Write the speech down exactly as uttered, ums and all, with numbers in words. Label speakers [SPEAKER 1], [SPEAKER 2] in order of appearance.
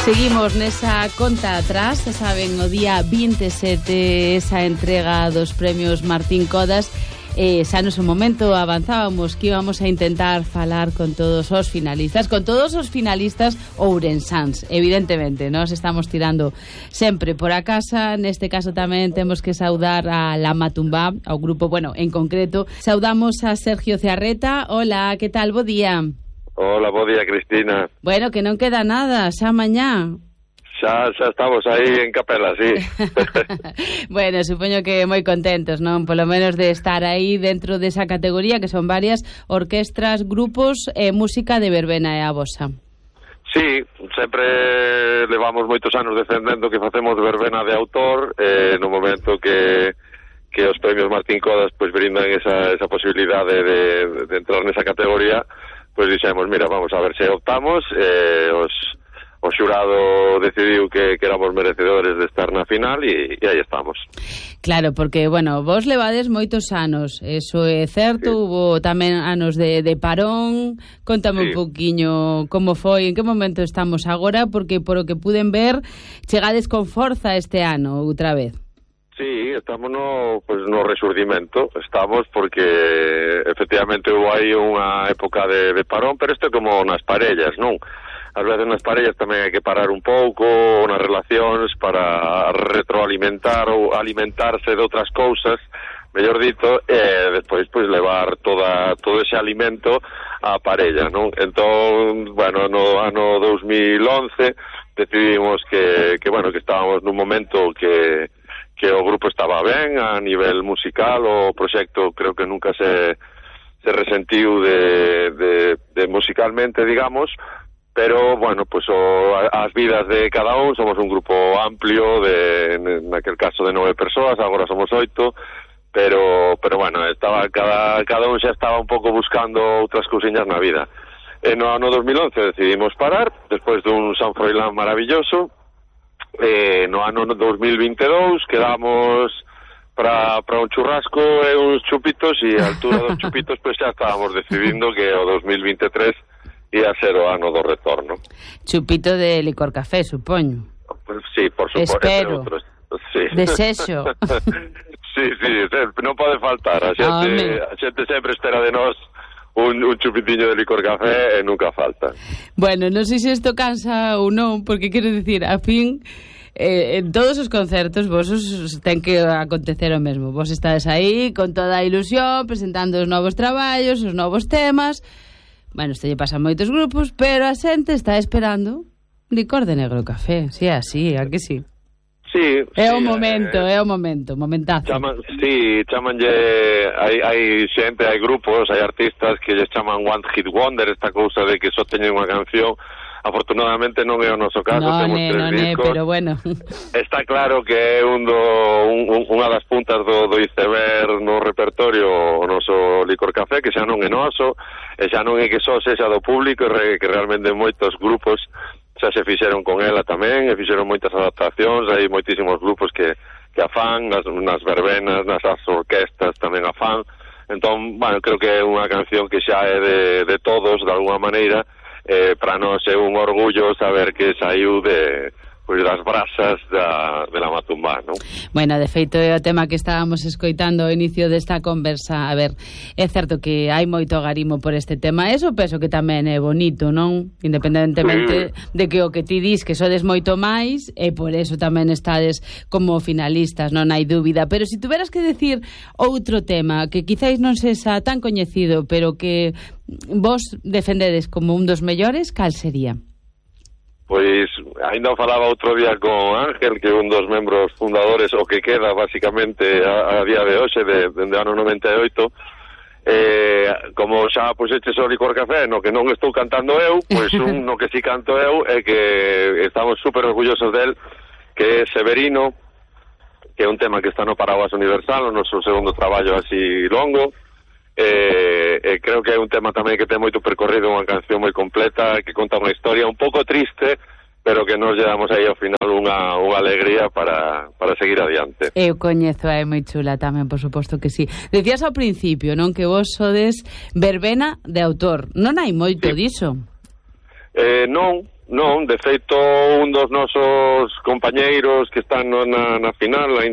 [SPEAKER 1] Seguimos nesa conta atrás, xa saben, o día vinte e sete, esa entrega dos premios Martín Codas. Eh, xa no seu momento avanzábamos que íbamos a intentar falar con todos os finalistas, con todos os finalistas ourensáns, evidentemente. Nos estamos tirando sempre por a casa. Neste caso tamén temos que saudar a La Matumbá, ao grupo, bueno, en concreto saudamos a Sergio Cearreta. Hola, que tal? Bo día.
[SPEAKER 2] Hola, bo día, Cristina.
[SPEAKER 1] Bueno, que non queda nada, xa mañá.
[SPEAKER 2] Xa, xa estamos aí en capela, sí.
[SPEAKER 1] Bueno, supoño que moi contentos, non? Polo menos de estar aí dentro desa categoría, que son varias orquestras, grupos e música de verbena e a vosa.
[SPEAKER 2] Sí, sempre levamos moitos anos defendendo que facemos verbena de autor, eh, no momento que que os premios Martín Codas pois brindan esa, esa posibilidade de, de entrar nesa categoría. Pois dixemos, mira, vamos a ver se optamos, eh, os, o xurado decidiu que, que éramos merecedores de estar na final e, e aí estamos.
[SPEAKER 1] Claro, porque, bueno, vos levades moitos anos, eso é certo, sí. Hubo tamén anos de, de parón. Contame sí. Un poquinho como foi, en que momento estamos agora, porque por o que puden ver, chegades con forza este ano outra vez.
[SPEAKER 2] Sí, estamos no, pues, no resurdimento, estamos porque efectivamente hubo aí unha época de, de parón, pero isto é como nas parellas, non? Ás veces nas parellas tamén hai que parar un pouco nas relacións para retroalimentar ou alimentarse de outras cousas, mellor dito, e despois pois levar toda todo ese alimento á parella, non? Entón, bueno, no ano dos mil once decidimos que, que bueno, que estábamos nun momento que que o grupo estaba ben a nivel musical, o proxecto creo que nunca se, se resentiu de, de, de musicalmente, digamos, pero, bueno, pues o, as vidas de cada un, somos un grupo amplio, de, naquel caso de nove persoas, agora somos oito, pero, pero bueno, estaba cada, cada un xa estaba un pouco buscando outras cousiñas na vida. E no ano dos mil once decidimos parar, despois dun San Froilán maravilloso. Eh, no ano dos mil vinte e dous quedamos para para un churrasco e uns chupitos, e a altura dos chupitos pois xa estábamos decidindo que o dos mil vinte e tres ia ser o ano do retorno.
[SPEAKER 1] Chupito de licor café, supoño.
[SPEAKER 2] Sí, por suposto.
[SPEAKER 1] Espero.
[SPEAKER 2] Outros, sí.
[SPEAKER 1] Desexo.
[SPEAKER 2] Sí, sí, non pode faltar. A xente, a xente sempre espera de nós Un, un chupitiño de licor café e nunca falta.
[SPEAKER 1] Bueno, non sei se isto cansa ou non, porque quero dicir, a fin, eh, en todos os concertos vos os ten que acontecer o mesmo. Vos estades aí con toda a ilusión, presentando os novos traballos, os novos temas. Bueno, isto lle pasa a moitos grupos, pero a xente está esperando licor de negro café. Si, sí, así, a que sí?
[SPEAKER 2] Sí,
[SPEAKER 1] é
[SPEAKER 2] sí,
[SPEAKER 1] o momento,
[SPEAKER 2] eh,
[SPEAKER 1] é o momento, momentazo.
[SPEAKER 2] Chaman, sí, chamanlle, hai, hai xente, hai grupos, hai artistas que lles chaman One Hit Wonder, esta cousa de que só teñen unha canción. Afortunadamente non é o noso caso,
[SPEAKER 1] no,
[SPEAKER 2] temos
[SPEAKER 1] ne,
[SPEAKER 2] tres
[SPEAKER 1] no,
[SPEAKER 2] discos.
[SPEAKER 1] Ne, pero bueno.
[SPEAKER 2] Está claro que é un do, un, unha das puntas do, do iceberg no repertorio o noso licor café, que xa non é noso, e xa non é que só sexa do público, e que realmente moitos grupos xa se fixeron con ela tamén, e fixeron moitas adaptacións, hai moitísimos grupos que, que a fan, nas, nas verbenas, nas orquestas tamén a fan. Entón, bueno, creo que é unha canción que xa é de, de todos, de alguna maneira. Eh, para nós é un orgullo saber que saiu de, pois, das brasas da, de La Matumbá, non?
[SPEAKER 1] Bueno, de feito é o tema que estábamos escoitando ao inicio desta conversa. A ver, é certo que hai moito agarimo por este tema, eso penso que tamén é bonito, non? Independentemente sí. de que o que ti dis que sodes moito máis, e por eso tamén estades como finalistas, non hai dúbida. Pero se si tuveras que decir outro tema que quizáis non sexa tan coñecido, pero que vos defendedes como un dos mellores, cal sería?
[SPEAKER 2] Pois, ainda falaba outro día con Ángel, que é un dos membros fundadores, o que queda, basicamente, a, a día de hoxe, de, de, de ano noventa e oito, eh, como xa puxeches o licor café, no que non estou cantando eu, pois un no que si canto eu, é que estamos super orgullosos del, que é Severino, que é un tema que está no Paraguas Universal, o noso segundo traballo así longo. Eh, eh, creo que é un tema tamén que ten moito percorrido, unha canción moi completa que conta unha historia un pouco triste, pero que nos llevamos aí ao final unha, unha alegría para, para seguir adiante.
[SPEAKER 1] Eu coñezo, é moi chula tamén, por suposto que sí. Decías ao principio, non, que vos sodes verbena de autor. Non hai moito sí. diso?
[SPEAKER 2] Eh, non, Non, de feito, un dos nosos compañeiros que están no, na, na final, ainda